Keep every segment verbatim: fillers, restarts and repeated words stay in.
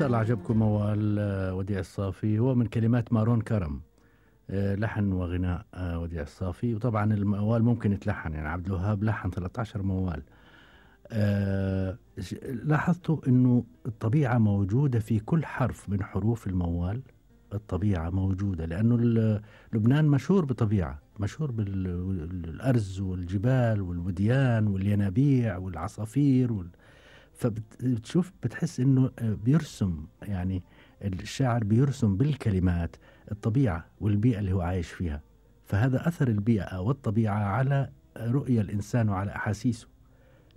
شاء الله عجبكم موال آه، وديع الصافي. هو من كلمات مارون كرم، آه، لحن وغناء آه، وديع الصافي. وطبعا الموال ممكن يتلحن، يعني عبد الوهاب لحن ثلاثة عشر موال. آه، ش- لاحظتوا انه الطبيعة موجودة في كل حرف من حروف الموال. الطبيعة موجودة لأنه ال- لبنان مشهور بطبيعة، مشهور بالأرز والجبال والوديان والينابيع والعصافير وال... فبتشوف بتحس انه بيرسم، يعني الشاعر بيرسم بالكلمات الطبيعة والبيئة اللي هو عايش فيها. فهذا أثر البيئة والطبيعة على رؤية الإنسان وعلى أحاسيسه.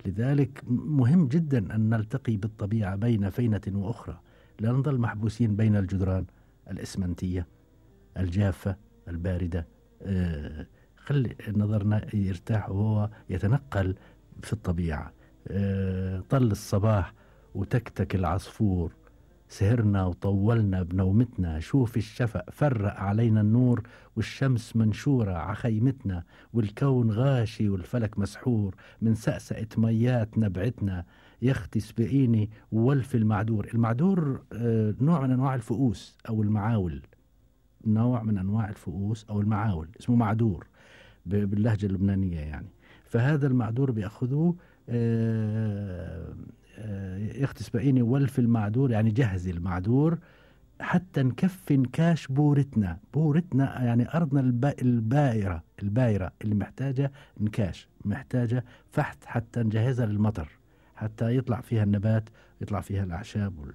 لذلك مهم جدا أن نلتقي بالطبيعة بين فينة وأخرى، لا نظل محبوسين بين الجدران الإسمنتية الجافة الباردة. آه، خلي نظرنا يرتاح وهو يتنقل في الطبيعة. آه، طل الصباح وتكتك العصفور، سهرنا وطولنا بنومتنا، شوف الشفق فرق علينا النور، والشمس منشورة عخيمتنا، والكون غاشي والفلك مسحور، من سأسأة ميات نبعتنا، يختي سبقيني وولف المعدور. المعدور آه، نوع من أنواع الفؤوس أو المعاول، نوع من أنواع الفؤوس أو المعاول اسمه معدور ب- باللهجة اللبنانية يعني. فهذا المعدور بيأخذوه آه، آه، يختس بقيني ولف المعدور، يعني جهز المعدور حتى نكفي نكاش بورتنا. بورتنا يعني أرضنا الب- البائرة البائرة اللي محتاجة نكاش، محتاجة فحت حتى نجهزها للمطر، حتى يطلع فيها النبات، يطلع فيها الأعشاب وال...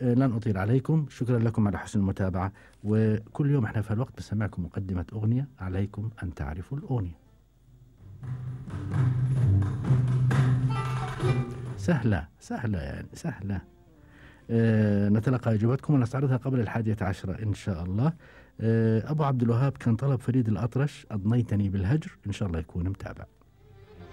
آه، لن أطيل عليكم، شكرا لكم على حسن المتابعة. وكل يوم احنا في الوقت بسمعكم مقدمة أغنية، عليكم أن تعرفوا الأغنية. سهلة سهلة يعني سهلة. أه نتلقى إجابتكم ونستعرضها قبل الحادية عشرة إن شاء الله. أه أبو عبد الوهاب كان طلب فريد الأطرش، أضنيتني بالهجر، إن شاء الله يكون متابع.